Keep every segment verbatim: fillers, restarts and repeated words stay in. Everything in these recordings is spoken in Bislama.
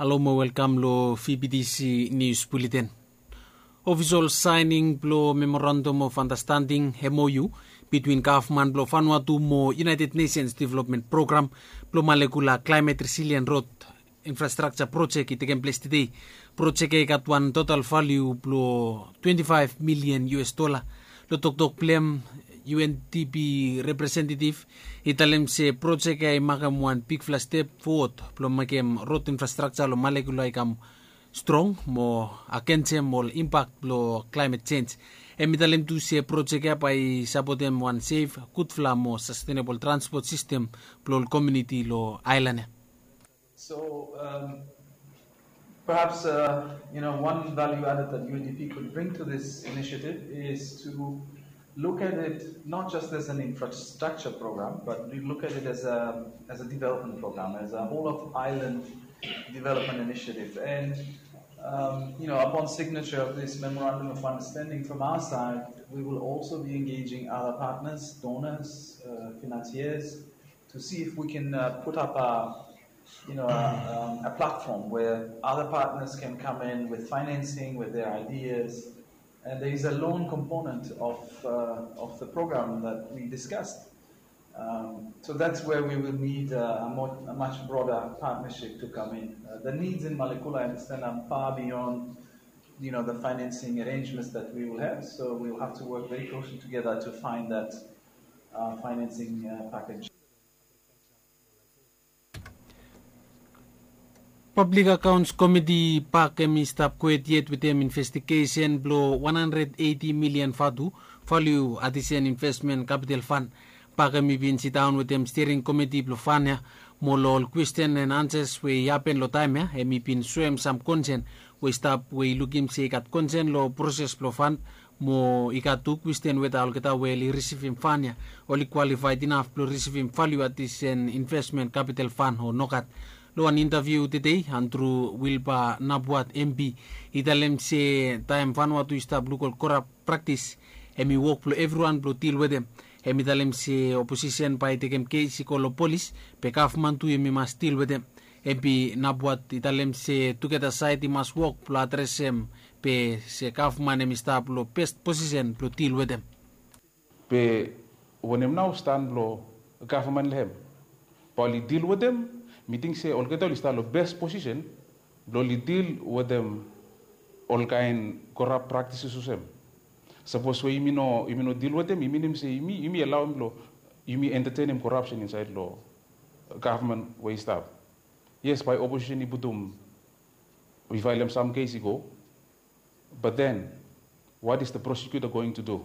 Halo mo welkam lo V B T C News Bulletin. Ofisol saening blo Memorandum of Understanding, M O U, bitwin gavman blo Vanuatu mo United Nations Development Program blo Malekula Climate Resilient Road Infrastructure Project i tekem ples tede. Project ya i gat wan total value blo twenty-five million U S dollar. Lo toktok blo hem, U N D P representative i talem se project ya i makem wan bigfala step forward blo mekem road infrastructure lo Malekula i kam strong mo agensem ol impact blo climate change. Hem i talem tu se project ya bae i sapotem wan safe, gudfala mo sustainable transport system blo ol community lo aelan ya. So um, perhaps uh, you know one value added that U N D P could bring to this initiative is to look at it not just as an infrastructure program, but we look at it as a as a development program, as a whole of island development initiative. And um, you know, upon signature of this memorandum of understanding from our side, we will also be engaging other partners, donors, uh, financiers, to see if we can uh, put up a, you know, a, um, a platform where other partners can come in with financing, with their ideas. And there is a loan component of, uh, of the program that we discussed. Um, so that's where we will need uh, a, more, a much broader partnership to come in. Uh, the needs in Malekula, I understand, are far beyond, you know, the financing arrangements that we will have. So we will have to work very closely together to find that uh, financing uh, package. Public Accounts Committee, PAC, hem i stap kwet yet wetem investigesen blo wan handred eiti milian vatu, value atisen investment capital fund. PAC hem i bin sidaon wetem steering committee blo fund ya, mo lo ol kwestin and answers we i hapen lo taem ya, hem i bin soem sam konsen we i stap, we i lukim se i gat konsen lo proses blo fund, mo i gat tu kwestin weta olgeta we oli risivim fund ya oli kwalifaed inaf blo risivim value atisen investment capital fund o nogat. Lo wan intaviu tede, Andrew Wilbur Napuat, M P, i talem se taem Vanuatu i stap luk ol korap praktis, hem i wok blo evriwan blo dil wetem. Hem i talem se oposisen bae i tekem kes i go lo polis, be gavman tu hem i mas dil wetem. M P Napuat i talem se tugeta saed i mas wok blo adresem, be se gavman hem i stap lo bes posisen blo dil wetem. Be wanem nao stan blo gavman lo hem? Bae oli dil wetem? Mi ting se olgeta oli stap lo bes posisen blo oli dil wetem ol kaen korap praktises olsem. Sapos we yumi no, yumi no dil wetem, i minim se yumi, yumi alaoem blo yumi entetenem korapsen insaed lo gavman we i stap. Yes, bae oposisen i putum, i faelem sam kes i go. But then, what is the prosecutor going to do?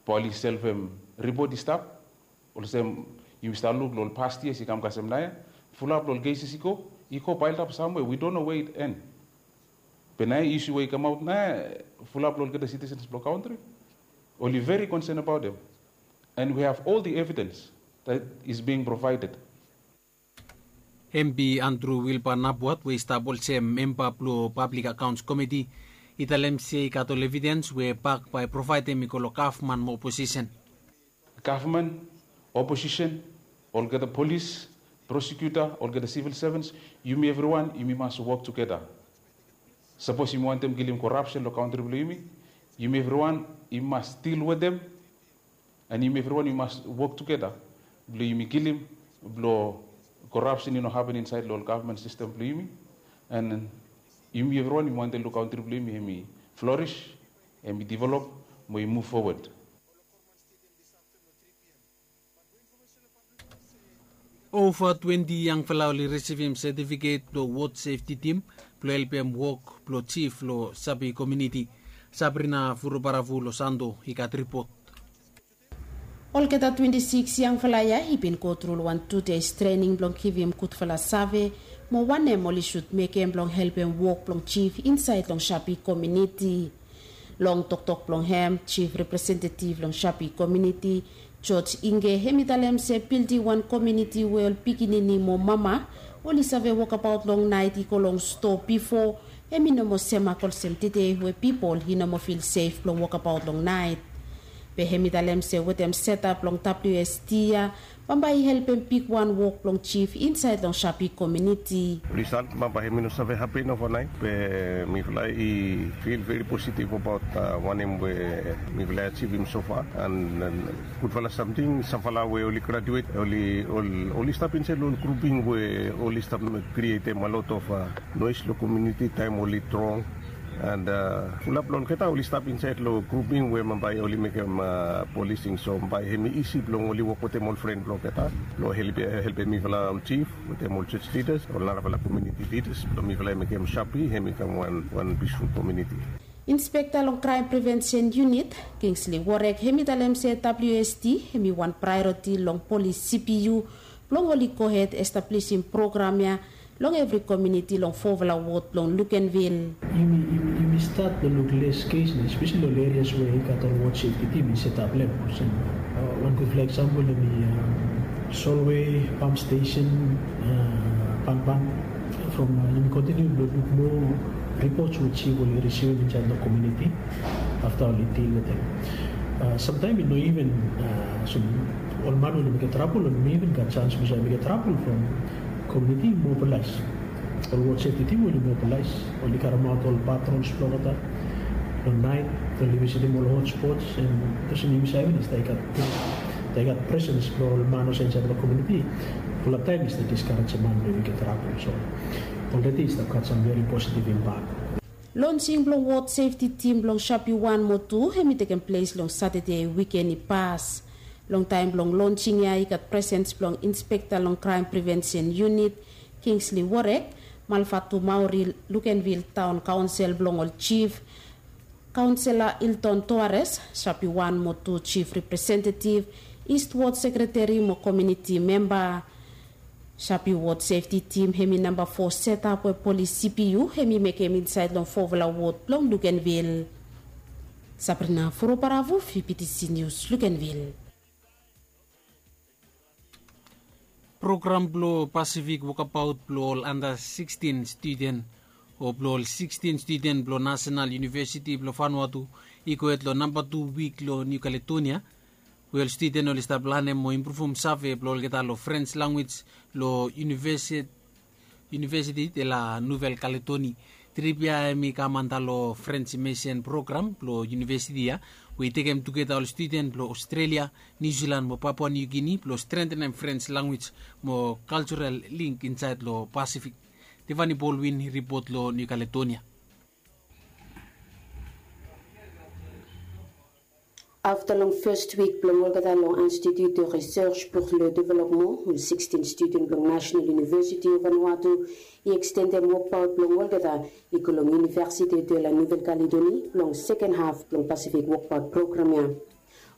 Bae oli selvem ripot i stap? Olsem yumi stap luk lo ol past years i kam kasem naoia, fulap lo ol cases i go, i go piled up somewhere, we don't know where it end. Be naoia isu we i kamaot naoia, fulap lo olgeta citizens blo kantri oli very concerned about them. And we have all the evidence that is being provided. M P Andrew Wilbur Napuat, we i stap olsem memba blo Public Accounts Committee, i talem se i gat ol evidens we PAC bae provaedem i go lo gavman mo oposisen. Gavman, oposisen, olgeta polis, prosecutor, olgeta civil servants, yumi evriwan yumi mas wok tugeta. Sapos yumi wantem kilim korapsen lo kantri blo yumi, yumi evriwan yumi mas dil wetem. And yumi evriwan yumi mas wok tugeta blo yumi kilim blo korapsen i no hapen insaed lo ol gavman sistem blo yumi. And yumi evriwan yumi wantem lo kantri blo yumi hem i flourish, hem i develop, mo i muv fowod. Ova twenti yangfala oli risivim setifiket blo wod sefti tim blo helpem wok blo jif lo Sapi komuniti. Sabrina Vurubaravu lo Santo i gat ripot. Olgeta twenti sikis yangfala ya i bin go tru lo wan tu deis trening blong givim gudfala save mo wanem oli sud mekem blong helpem wok blong jif insaed long Sapi komuniti. Long toktok blong hem, jif representetiv long Sapi komuniti, George Inge, hem i talem se bilding wan komuniti we ol pikinini mo mama oli save wokabaot long naet i go long stoa bifo, hem i no moa semak olsem tede we pipol i no moa fil sef blong wokabaot long naet. Be hem i talem se wetem setap long wst ya bambae i helpem bigwan wok blong jif insaed long shapi komiuniti. Risalt bambae hem i no save hapen ovanaet, be mifala i fil veri positiv abaot wanem we mifala i ajivim sofa. An gudfala samting, samfala we oli grajuet, oli stap insaed long ol gruping we oli stap krietem a lot of noes long komiuniti taem oli drong. An fulap long olgeta oli stap insaed long gruping we bambae oli mekem polising, so bambae hem i isi blong oli wok wetem ol fren blong olgeta blong helpem mifala ol jif wetem ol jos lidas, ol narafala komiuniti lidas blong mifala i mekem shapi hem i kam wan pisful komiuniti. Inspekta long kraem prevensen yunit, Kingsley Warek, hem i talem se wst hem i wan praeoriti long polis cpu blong oli gohed establisim program ya long evri komiuniti long fofala wod blong Lukenvil. Yumi stat blong luk les kes na espeseli ol erias we i gat ol wod sefti tim i setap lem olsem wan gudfala eksampol hem i Solway, Pam Stesen, Pampan. From yumi kontiniu blong luk moa ripots we jif oli risivim insaed long komiuniti afta oli dil wetem. Samtaem i no iven olsem ol man we oli mekem trabol oli no iven gat sans blong save mekem trabol from komiuniti i mobilaes. Ol wod sefti tim oli mobilaes, oli karemaot ol patrols blong olgeta long naet, oli visitim ol hotspots, an olsem yumi save i stap i gat presens blong ol man olsem insaed long komiuniti. Fulap taem i stap diskarejem man blong yumi gat trabol, so olredi i stap gat sam veri positiv impak. Lonsing blong wod sefti tim blong shapi wan mo tu hem i tekem ples long satade wiken i pas. Long taem blong lonsing ya i gat presens blong inspekta long kraem prevensen yunit, Kingsley Warek, Malfatu Maori, Lukenvil taon kaonsel blong ol jif, kaonsela Ilton Toares, shapi wan mo tu jif representetiv, istwod sekreteri mo komiuniti memba. Shapi wod sefti tim hem i namba fo setap we polis cpu hem i mekem insaed long fofala wod blong Lukenvil. Sabrina Foroparavo, fibitisi nius, Lukenvil. Program blong pasifik wokabaot blong ol anda sikstin studen o blong ol sikstin studen blong nasenal yunivesiti blong vanuatu i gohed long namba tu wik long niu kaledonia, we ol studen oli stap lanem mo impruvum save blong olgeta long frens lanwis long yunivesiti de la nuvel kaledoni. Trip ya hem i kam anda long frens imesen program blong yunivesiti ya, we i tekem tugeta ol studen blong aostrelia, niu silan mo papua niu gini blong strentenem frens lanwis mo kaltural link insaed long pasifik. Devani bolwin i ripot long niu kaledonia. Afta long fes wik blong olgeta long institut de resers pour le development, ol sikstin studen blong nasenal yunivesiti of vanuatu i ekstendem wokbaot blong olgeta i go long yunivesiti de la nuvel kaledoni blong seken haf blong pasifik wokbaot program ya.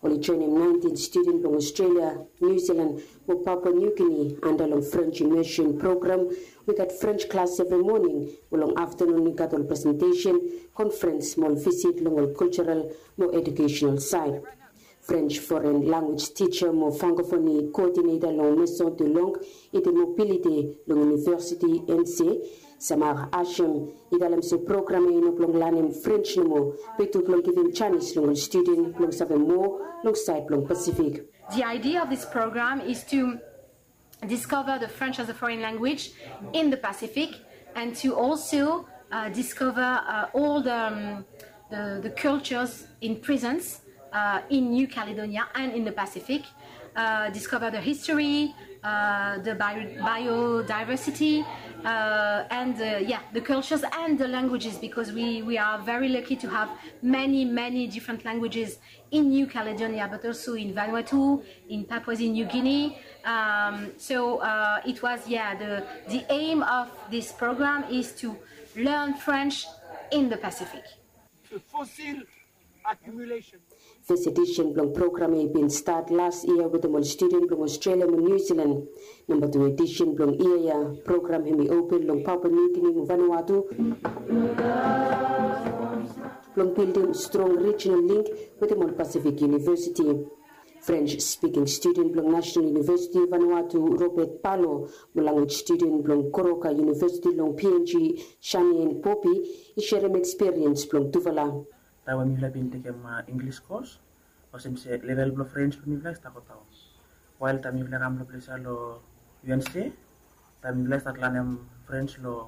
Oli joenem naentin studen blong aostrelia, niu silan mo papua niu gini anda long frens imesen program. We gat frens klas evri moning, mo long aftanun i gat ol presentesen, konfrens mo ol visit long ol kaltural mo ejukesenal saed. Frens foren lanwis tija mo fangofoni koodineta long meson de long ede mobiliti long yunivesiti ense, samar asem, i talem se program ya i no blong lanem frens nomo, be tu blong givim janis long ol studen blong save moa long saed blong pasifik. The idea of this program is to discover the French as a foreign language in the Pacific, and to also discover all the cultures in presence in New Caledonia and in the Pacific, discover the history, the biodiversity, and yeah, the cultures and the languages, because we are very lucky to have many, many different languages in New Caledonia, but also in Vanuatu, in Papua New Guinea. So it was, yeah, the aim of this program is to learn French in the Pacific. Fes edisen blong program ya i bin stat las yia wetem ol studen blong Aostrelia mo Niu Silan. Namba tu edisen blong yia ya, program hem i open long Papua Niu Gini mo Vanuatu blong bildim strong rijinal link wetem ol Pasifik Yunivesiti. Frens spiking studen blong Nasenal Yunivesiti Vanuatu, Robert Palo, mo lanwis studen blong Goroka Yunivesiti long P N G, Shanien Popi, i serem ekspiriens blong tufala. Taem we mifala bin tekem Inglis kos, Olsem se level blong French blong mifala i stap godaon. Wael taem mifala i kam long ples ya long U N C, taem mifala i stat lanem French long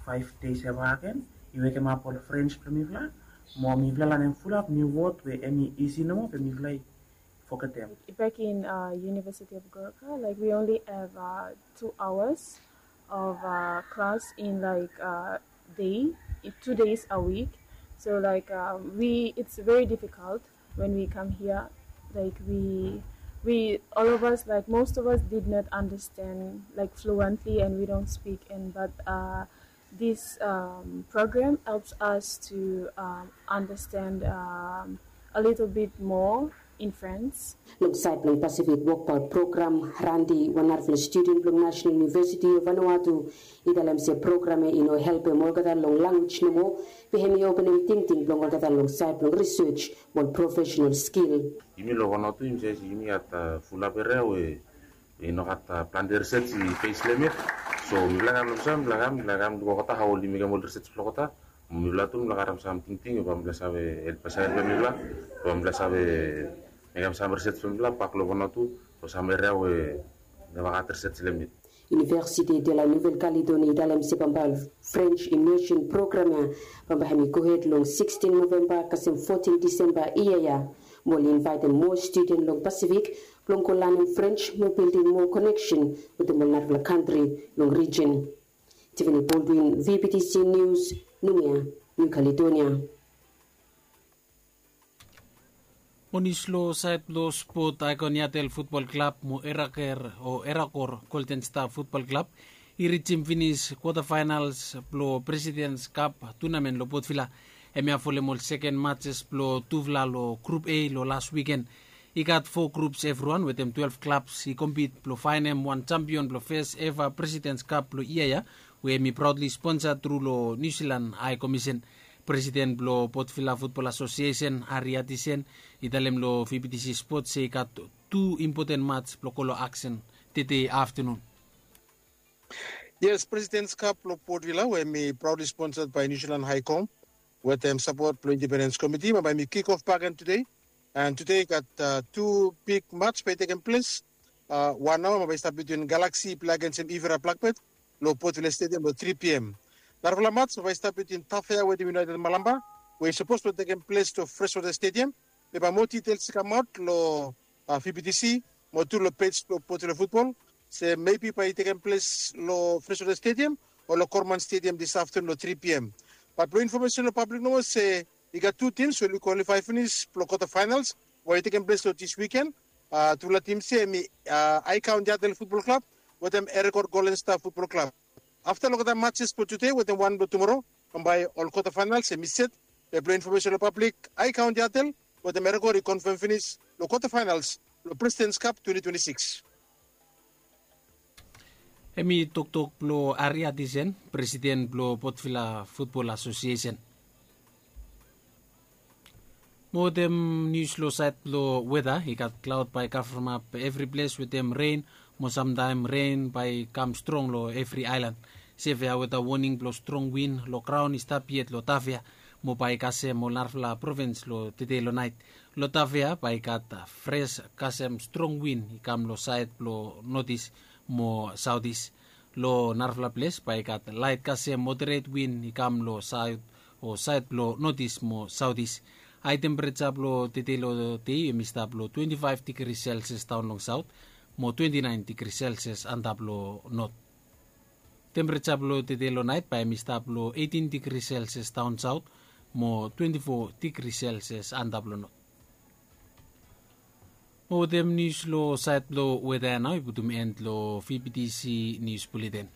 five days ya baken, i wekemap ol French blong mifala. Mo mifala lanem fulap niu wod we em i isi nomo be mifala i fogetem. Back in uh, University of Gorka, like we only have uh, two hours of uh, class in like uh, day, two days a week. So like uh, we, it's very difficult when we come here. Like we, we all of us, like most of us, did not understand like fluently, and we don't speak. And but uh, this um, program helps us to um, understand um, a little bit more in French. Long saed blong Pacific Workbout Program, Randi, wan narafala studen blong National University of Vanuatu, i talem se program ya i no helpem olgeta long language nomo, be hem i openem tingting blong olgeta long saed blong research mo ol professional skill. Yumi long Vanuatu yumi sae se yumi gat fulap eria we i no gat plante research i base long hem yet. So mifala kam long saem, mifala kam, mifala kam luk olgeta hao oli mekem ol research blong olgeta. Mifala tu mifala karem sam tingting we bae mifala save help, save helpem mifala, bae mifala save mekem sam research blong mifala bak long Vanuatu long sam eria we neva gat research long hem yet. Université de la Nouvelle-Calédonie i talem se bambae ol French immersion program ya bambae hem i gohed long sixteen November kasem fourteen December yia ya. Mo oli invaetem moa studen long Pacific blong go lanem French mo bildim moa connection wetem ol narafala kantri long region. Tiffany Baldwin, V B T C News, Noumea, New Caledonia. Mo nius long saed blong spot, Aikon Yatel Futbol Klab mo Eraker o Erakor Golden Star Futbol Klab i rijim finis kwota faenals blong Presidents Cup tunamen long Port Vila. Hemia folem ol seken matses blong tufala long Grup A long las wiken. I gat fo grups evriwan wetem twelef klabs i kompit blong faenem wan jampion blong fes eva Presidents Cup blong yia ya, we hem i praodli sponsa tru long New Zealand High Commission. Presiden blong Port Vila Futbol Asosiesen, Ari Atisen, i talem long V B T C Sport se i gat tu impoten mats blong go long aksen tede aftenun. Yes, President's Cup blong Port Vila we hem i proudly sponsored by New Zealand High Com wetem sapot blong Independence Committee, bae hem i kick off back again today. And today i gat uh, tu big match bae i tekem ples. Uh, wan naoa bae i stap between Galaxy i plei agensem Ivera Blackbird long Port Vila Stadium long three P M. Narafala match bae i stap between Tafea wetem United Malamba we i sapos blong tekem ples long Freshwater Stadium. Be bae moa details i kamaot long uh, V B T C mo tu long pej blong Port Vila Futbol se maybe bae i tekem ples long Freshwater Stadium o long Korman Stadium this afternoon long three P M. But blong information long public nomo se i gat tu tims we oli qualify finis blong quarter finals we i tekem ples long this weekend. Uh, tufala tims ya hem i uh, Aikon Yatel Futbol Klab wetem Erakor Golden Star Futbol Klab. Afta long olgeta matches blong tude wetem wan blong tumoro, bambae ol quarter finals hem i set. Be blong information long public, Aikon Yatel wetem Erakor i konfam finis long quarter finals blong President's Cup twenty twenty-six. Hem i toktok blong Ari Atisen, Presiden blong Port Vila Futbol Asosiesen. Mo wetem nius long saed blong weta, i gat klaod bae i kavremap evri ples wetem ren, mo samtaem ren bae i kam strong long evri aelan. Sevea weta woning blong strong win long graon i stap yet long Tafea mo bae i kasem ol narafala provins long tede long naet. Long Tafea bae i gat fres kasem strong win i kam long saed blong notis mo saotis. Long narafala ples bae i gat laet kasem moderet win i kam long saed o saed blong notis mo saotis. Hae tempereja blong tede long dei hem i stap long twenti faef digri selsias daon long saot mo twenti naen digri selsias antap long not. Tempereja blong tede long naet bae hem i stap long eitin digri selsias daon saot mo twenti fo digri selsias antap long not. Mo wetem nius long saed blong weta ya nao i putum en long V B T C Nius Buleten.